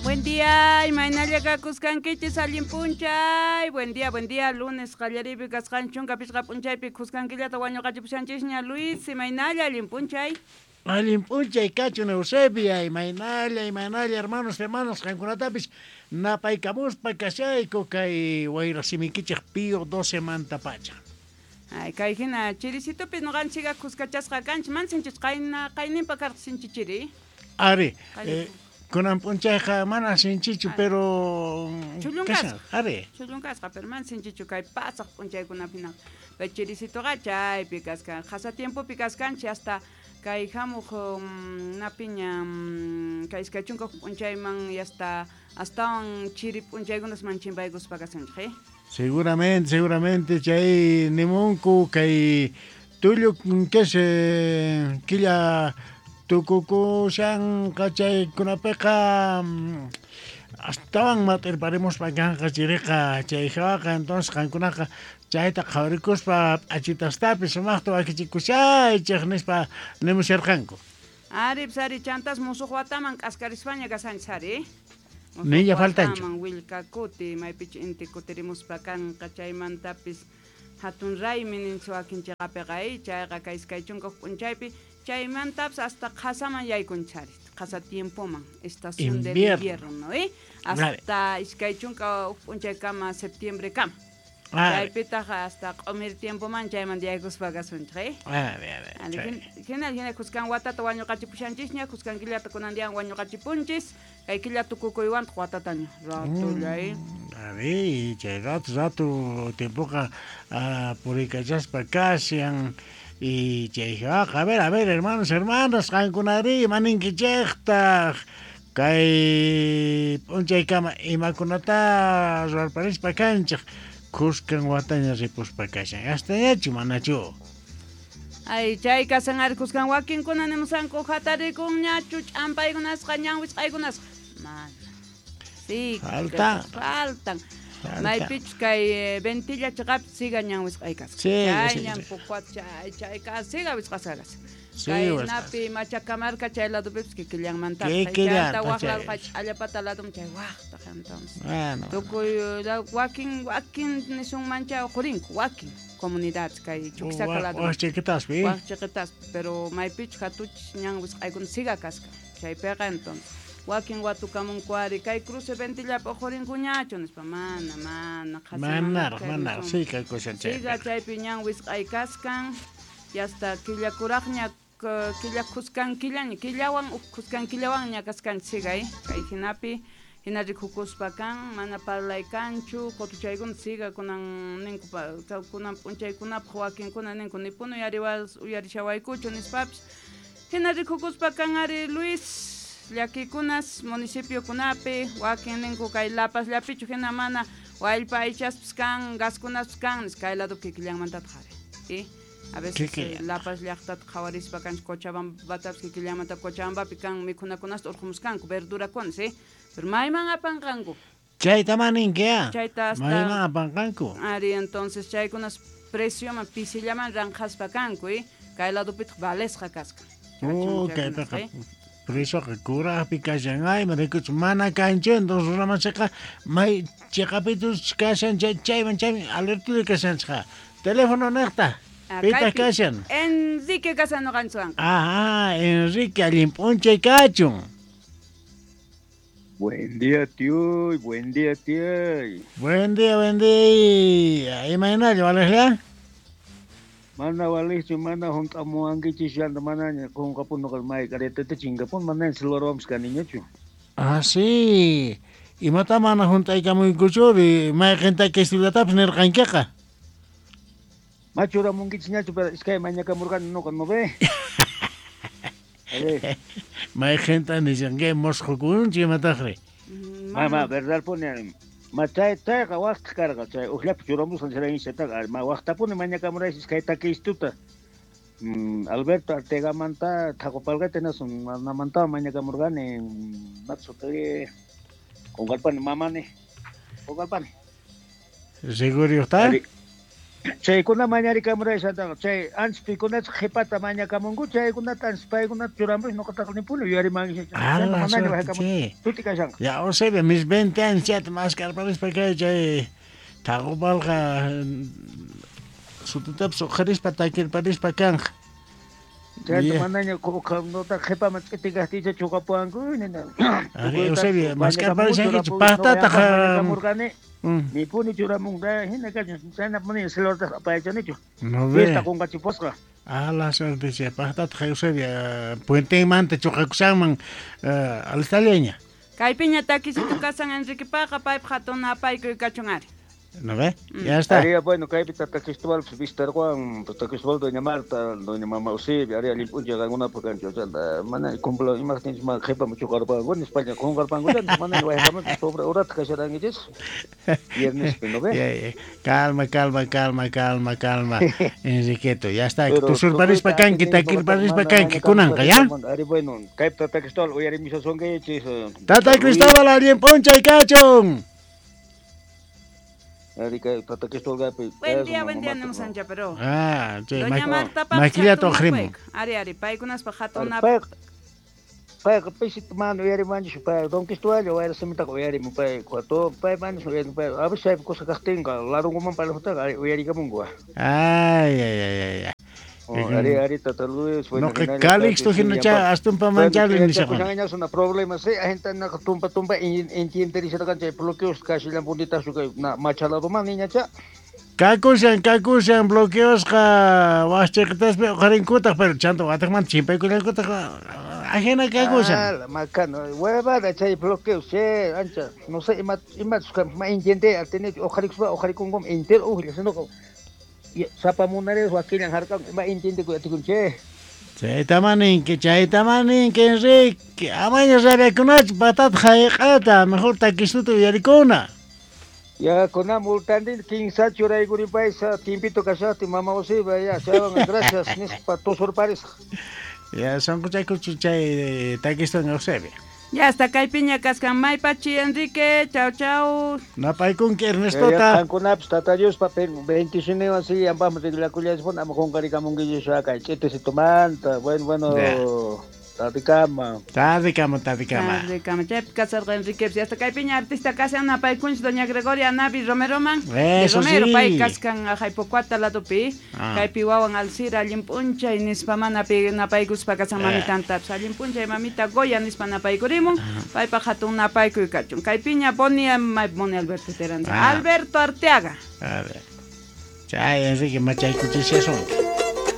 Buen día, imaynalla kakuskankichis allin p'unchay. Buen día, buen día, lunes qallariypi kasqan chunka pichqa p'unchaypi khuskankillata wañuqachipushanchisña Luis, imaynalla allin p'unchay. Allin p'unchay kachun Eusebia, imaynalla, imaynalla hermanos, hermanas, qankunatapis napaykamuspa kashayku kay wayra simikichej Pío 12 mantapacha. Ay, kay hina chirisitupis noqanchika khuskachasqa kanchis, mana sinchich qayna qayninpa karqa sinchi chiri. Ari, kunan p'unchayqa mana sinchichu, pero Chullunkasqa. Ari. Chullunkasqa, pero mana sinchichu kay pasaq p'unchaykunapi hinaqa. Pero chirisituqa chaypi kaskan, qhasa tiempopi kaskanchis hasta kay hamuq napiña kay iskay chunka huk p'unchayman y hasta astawan chiri p'unchaykunas man chimpaykuspa kasunchik, eh? Seguramente, seguramente chay nimunku kay tullu que se killa tukukushanqa chaykunapiqa astawan mat'irparimuspa kanqa chiriqa chay hawaqa entonces qankunaqa chayta qhawarikuspa p'achitastapis sumaqta wakichikushaychej nispa nimusharqanku. Ari, pues, ari, chantas musuq wataman k'askarispaña kashanchis ari. Niña faltanchu. Willkakuti maypichu inti kutirimuspa kanqa chaymantapis hatun raymi ninchis wakin chiqapiqa chayqa kay iskay chunka huk p'unchaypi chaymantapis hasta qhasaman yaykunchis ari, qhasa tiempoman, estación del invierno, ¿eh? Hasta 21 p'unchaykama septiembrekama. Chaypitaq hasta q'umir tiempoman chaymanta yaykuspa kasunchik, ¿eh? Hina hina khuskan watata wañuqachipushanchisña, khuskan killata kunan dian wañuqachipunchis, kay killa tukukuywantaq watataña ratulla, ¿eh? Ari, chay rato rato tiempoqa puriykachaspa kashan y chay hawaqa, a ver, hermanos, hermanas, qankunari imaninkichejtaq kay p'unchaykama imakunata ruwarparispa kanchej khuskan wataña ripuspa kashan, astañachu manachu? Ay, chay kasan ari khuskan wakinkuna nimusanku hatarikunñachu ch'ampaykunasqa ñan wisq'aykunasqa. Mana. Sí, Faltan. faltan. Maypichus kay ventilla chiqapis siga ñan wisq'ay kasqa. Sí, Chay sí, ñan sí. pukwat chay, chay ka siga wisq'asqa kasqa. Sí, Kay wisq'asqa. napi Machacamarca chay ladupipis kikillanmanta. Kikillanta, Chayta waq chay. lado, ch'allapata ladum chay waqta entonces. Bueno. Tukuy wakin, wakin nisunman chay uqurinku, wakin comunidades kay Chuquisaca lado. Waq chiquitaspi. Waq chiquitaspi, pero maypichus hatuchis ñan wisq'aykuna siga kasqa. Chaypiqa entonces. Wakin watukamunku ari kay cruce ventillapi uqurinkuñachu nispa, mana, mana, qhasi Manaraq, mana manaraq, chay sí, kaykushan chay. Siga chaypi ñan wisq'ay kaskan, y hasta killa kuraqña, killa khuskan killaña, killawan uj khuskan killawanña kaskan siga, kay hinapi, hina rikukuspa kan, mana parlay kanchu, qotuchaykuna siga kunan ninku pa, kunan p'unchaykunapaq wakinkuna ninku ni punu uyarishawaykuchu nispapis. Hina rikukuspa kan ari Luis, llakikunas municipiokunapi, wakin ninku kay La Paz llapichu hina mana wallpa aychaspis kan, gaskunaspis kan, nispa kay lado kikillanmantataq ari. ¿Sí? A veces, Kikillan. La Paz llaqtata qhawarispa kanchis Cochabambatapis kikillanmanta Cochabambapi kan mikhunakunasta urqumuskanku, verdurakunas, ¿sí? Pero mayman apanqanku. Chayta maninki, ah. Chayta hasta Mayman apanqanku. Ari, entonces chaykunas precioman pisillaman ranqaspa kanku, ¿eh? Kay ladopitaq valesqa kasqa. Oh, Chaykunas, kaypiqa ¿eh? Presoqa kuraqpi kashan, ay, marikuch, mana kanchu, entonces runamaseqa may chiqapitus kashan, chay, chayman, chayman, alertulla kashanchqa. Teléfono niqta. Ah, Pitaq kaypi kashan? Enrique kashan noqanchikwan. Ajá, Enrique, allin p'unchay kachun. Buen día, tío, buen día, tío. Buen día, buen día. Imaynalla, valejlla? Mana walejchu, mana hunt'amuwankichis, yanta manaña qunqapun noqa may karetata chinkapun, manaña celularwanpis kaniñachu. Ah, sí. Imata mana hunt'aykamuykuchuri, mayqinta kistullatapis nirqankiqa. Machuramunkichis ñachu, pero iskay mañakamurqani noqa, ¿no ve? A ver. Mayqinta nishanki mosqokunchu imataqri? Mamá, verdad pone, ma chay, chayqa waqtaq karqa, chay ujllapi churamusqan chaytaqa, ma waqtapuni mañakamuraysi iskay takistuta. Alberto Artegamanta Thaqupalqata nasun, manamanta mañakamurqani, matsuti, qunqarpani mamani, qunqarpani. Seguro está? Ari, Chaykuna mañarikamuraysantaqa chay antes pikunachus qhipata mañakamunku chaykunata antes paykunata churamush ñuqataqa nipuni yuyarimankichis. Ala Manaña suerte, wajakamun che. suti kashanqa. Ya, Eusebio, mis 20 años chayta maskarparispa kay chay Thaqupalqa sutitapis uqharispa takirparispa kanqa. Chayta Ya. manaña nota qhipaman ch'itikaqtiycha chuqapuwanku nina. Ari, Tukuyta Eusebio, mañakamunku maskarparishankichu churapuy paqtataq mañakamurqani mm, nipuni churamunqa hina kachun chayna mana celulartaqa apayachanichu. no ve. Fiesta qunqachipusqa. A la suerte, che, paqtataq Eusebio, puentenmanta chuqakushanman alistallaña. Kaypiña takisitu kasan Enriquepaqa paypaq hatun napaykuy kachun ari. ¿No ve? Ya está. Aria, bueno, kaypi Tata Cristóbal pues, vistarwan, Tata Cristóbal, Doña Marta, Doña Mama Eusebia, aria allin p'unchay qankunapaq kanchu, chanta mana cumplo imaqtinchus mana qhipaman chuqarpanku, nispaña qunqarpanku, chanta mana wayqamanchu sobre horata kasharankichis. Viernespi, ¿no ve? Ya, ya. Calma, calma, calma, calma, calma. Enriqueto, ya está. Pero Tusurparispa tukuyta kanki, atini takirparispa noqataqa mana kanki, kunanqa, ya? mañakamusqa Ari, bueno, kaypi Tata Cristóbal uyarimushasunkichis. Tata Luis. Cristóbal, allin p'unchay kachun. Ari, kay Tata Cristóbal kaypi Buen día, kasun, buen día, Mama nimus Marta, ancha, pero. Ah, che, Doña Marta papaq maquillata hatun uqharimun. napaykuy. Ari, ari, paykunaspaq hatun Ari, nap payqa payqa pisita mana uyarimanchu pay Don Cristóbal wayra simitaqa uyarimun pay cuarto pay mana uyarimun pay a veces chaypi kusa kaqtinqa larunkuman parlaqtaqa ari uyarikamunku. Ay, ay, ay, ay, ay. Oh, ari ari Tata Luis, bueno, Noqa hinalla Calixto kaypi hinacha yanpa astunpa bueno, manchali nishaqwan. yachakushanñas una problema sí, agentanaqa tumpa tumpa entienderisharqan chay bloqueos kashallanpunitaqchu kay na machaladoman niñacha. Kakushan, kakushan, bloqueosqa wasichiqitaspi uqharinkutaq, pero chanta watiqmanta chimpaykullankutaq, ajina kakushan. Ah, la macana, huevada chay bloqueos, che, ancha, no sé, ima imachus kan ma entiende atinichu uqharikuspa uqharikunkum entero ujlla, sino sapa munares wakillan harkan ima entiendekuy atikun che. Chaytaman ninki, chaytaman ninki, Enrique. Amaña rabiakunachu, patata hayq'ata, mejor takistuta uyarikuna. Ya kuna multandin kinsa churaykuripaysa tiempito kashaqtin mama Eusebia ya chaywan gracias nispa tusurparisaq. Ya sunquchaykuchu chay takistuwan Eusebia. Ya hasta kaypiña kaskan maypachi Enrique, chau chau. Napaykunki Ya Ernestota. qankunapis Tata Diospa bendicioniwan sí ampaqmi riqlakullaychikpuni ama qunqarikamunkichis kay ch'itisitumanta. Bueno, bueno, Ya. tardekama. Tardekama, tardekama. Tardekama. Chaypi kasarqa Enrique, ya hasta kaypiña artista kashan napaykunchis Doña Gregoria Navi Romeroman. De Eso Romero sí. pay kaskan Jaipocuata ladopi. Ah. Kaypi wawan Alcira allin p'unchay nispa mana pi napaykuspa kasan mamitantapis allin p'unchay mamita Goya nispa napaykurimun. Paypaq hatun napaykuy kachun. Kaypiña Boni, Boni Alberto Terán. Ah. Alberto Arteaga. A ver. Chay Enrique machaykuchishasunki.